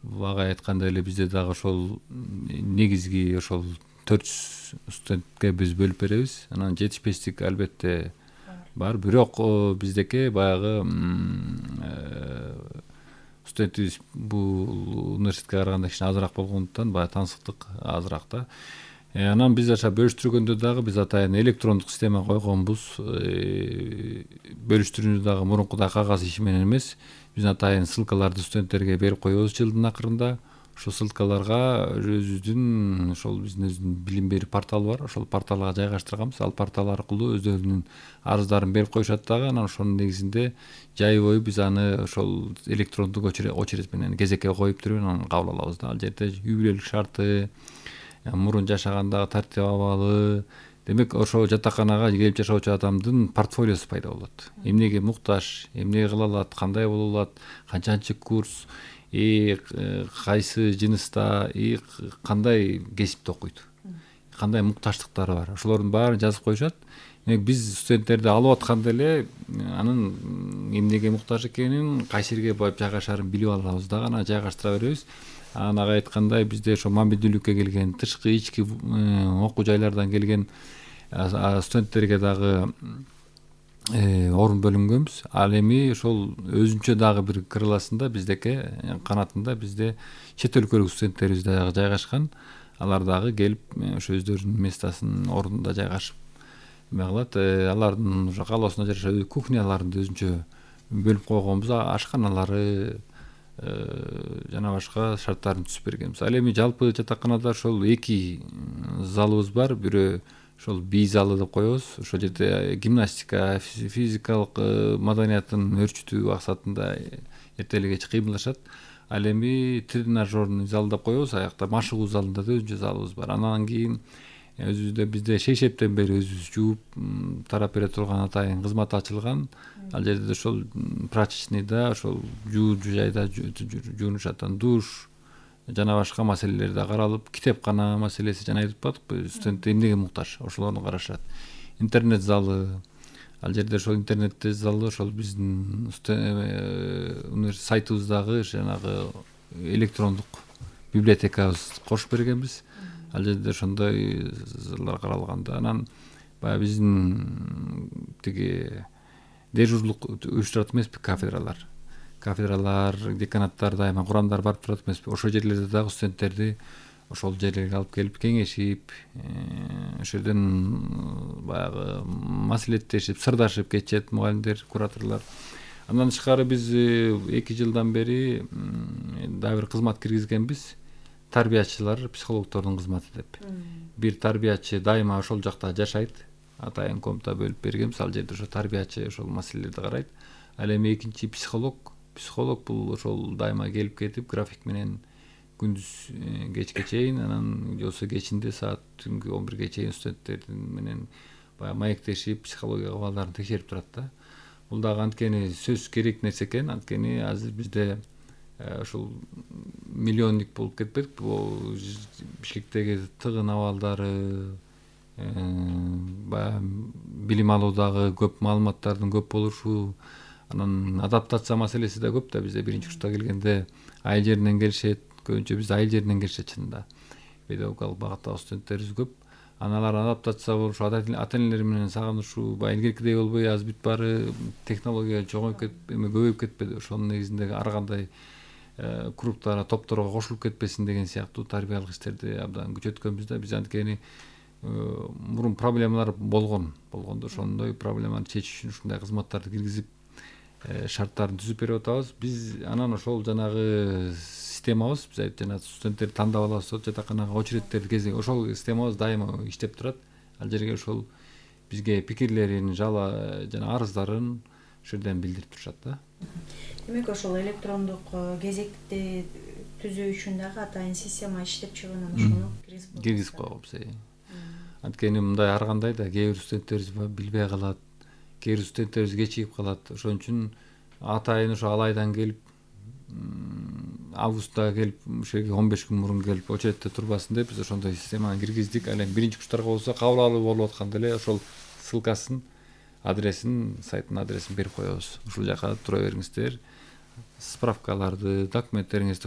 Ага айткандай эле бизде дагы ошол негизги ошол 400 студентке биз бөлүп беребиз. Анан жетишпештик албетте бар. Бирок биздеки баягы студентибиз бул университетке караганда кичине азыраак болгондуктан баягы таңсыктык азыраак да. Анан биз аша бөлүштүргөндө дагы биз атайын электрондук система койгонбуз. Бөлүштүрүүнү дагы мурункудай кагаз иши менен эмес, биз атайын ссылкаларды студенттерге берип коебуз жылдын акырында. Ошол ссылкаларга өзүбүздүн ошол биздин билим берүү порталы бар. Ошол порталга жайгаштырганбыз. Ал портал аркылуу өздөрүнүн арыздарын берип коюшат дагы. Анан ошонун негизинде жай бою биз аны ошол электрондук очередь менен кезекке коюп туруп анан кабыл алабыз да. Ал жерде үй бүлөлүк шарты, мурун жашагандагы тартип абалы, демек ошол жатаканага келип жашоочу адамдын портфолиосу пайда болот. Эмнеге муктаж, эмне кыла алат, кандай боло алат, канчанчы курс, кайсы жыныста, кандай кесипте окуйт, кандай муктаждыктары бар, ошолордун баарын жазып коюшат. Демек биз студенттерди алып атканда эле анын эмнеге муктаж экенин, кайсы жерге барып жайгашаарын билип алабыз дагы, анан жайгаштыра беребиз. Анан ага айткандай бизде ошо мобилдүүлүккө келген, тышкы ички окуу жайлардан келген студенттерге дагы орун бөлүнгөнбүз. Ал эми ошол өзүнчө дагы бир крыласында биздеки канатында бизде чет өлкөлүк студенттерибиз дагы жайгашкан. Алар дагы келип ошо өздөрүнүн местосын ордунда жайгашып эме кылат. Алардын ошо каалоосуна жараша кухняларын өзүнчө бөлүп койгонбуз, ашканалары жана башка шарттарын түзүп бергенбиз. Ал эми жалпы жатаканада ошол 2 залыбыз бар. Бирөө ошол бий залы деп коебуз. Ошол жерде гимнастика, физикалык маданиятын өрчүтүү максатында эртелик кеч кыймылдашат. Ал эми тренажерный зал деп коебуз. Аякта машыгуу залында да өзүнчө залыбыз бар. Анан кийин өзүбүздө бизде шейшептен бери өзүбүз жууп тарап бере турган атайын кызмат ачылган. Ал жерде ошол прачечныйда ошол жуучу жайда жуунушат. Душ жана башка маселелер да каралып, китепкана маселеси жана айтып атпадыкпы, студент эмнеге муктаж, ошолорду карашат. Интернет залы, ал жерде ошол интернет залы ошол биздин университет сайтыбыздагы жанагы электрондук библиотекабыз кошуп бергенбиз. Ал жерде ошондой залдар каралган да. Анан баягы биздин тиги дежурлук уюштурат эмеспи, кафедралар, деканаттар дайыма курамдар барып турат эмеспи. Ошол жерлерде дагы студенттерди ошол жерлерге алып келип кеңешип, ошол жерден баягы маселеттешип, сырдашып кетишет мугалимдер, кураторлор. Андан тышкары биз 2 жылдан бери дагы бир кызмат киргизгенбиз. Тарбиячылар, психологдордун кызматы деп. Бир тарбиячы дайыма ошол жакта жашайт. Атайын комната бөлүп бергенбиз. Ал жерде ошо тарбиячы ошол маселелерди карайт. Ал эми экинчи психолог бул ошол дайыма келип кетип, график менен күндүз кечке чейин, анан болсо кечинде саат түнкү 11ге чейин студенттер менен баягы маектешип, психология абалдарын текшерип турат да. Бул дагы анткени сөзсүз керек нерсе экен. Анткени азыр бизде ошол миллионник болуп кетпедикпи? Бул Бишкектеги тыгын абалдары, баягы билим алуудагы көп маалыматтардын көп болушу, анан адаптация маселеси да көп да. Бизде биринчи курста келгенде айыл жеринен келишет. Көбүнчө бизде айыл жеринен келишет чынында. Педагогикалык багыттагы студенттерибиз көп. Аналар адаптация болушу, ата энелер менен сагынышуу баягы илгеркидей болбой, азыр бүт баары технология чоңоюп кетип, көбөйүп кетпеди. Ошонун негизинде ар кандай кругтарга, топторго кошулуп кетпесин деген сыяктуу тарбиялык иштерди абдан күчөткөнбүз да. Биз анткени мурун проблемалар болгондо ошондой проблеманы чечиш үчүн ушундай кызматтарды киргизип шарттарын түзүп берип атабыз. Биз анан ошол жанагы системабыз, биз жана студенттерди тандап алабыз, жатаканага очередтерди кезек, ошол системабыз дайыма иштеп турат. Ал жерге ошол бизге пикирлерин, жана арыздарын ошол жерден билдирип турушат да. Демек ошол электрондук кезекти түзүү үчүн дагы атайын система иштеп чыгып, ошону киргизип койгонбуз. Анткени мындай ар кандай да кээ бир студенттерибиз билбей калат, кээ бир студенттерибиз кечигип калат. Ошон үчүн атайын ошо ал айдан келип, августта келип, ошол жерге 15 күн мурун келип очередте турбасын деп биз ошондой системаны киргиздик. Ал эми биринчи курстарга болсо кабыл алуу болуп атканда эле ошол ссылкасын, адресин, сайттын адресин берип коебуз. Ушул жака тура бериңиздер, справкаларды, документтериңизди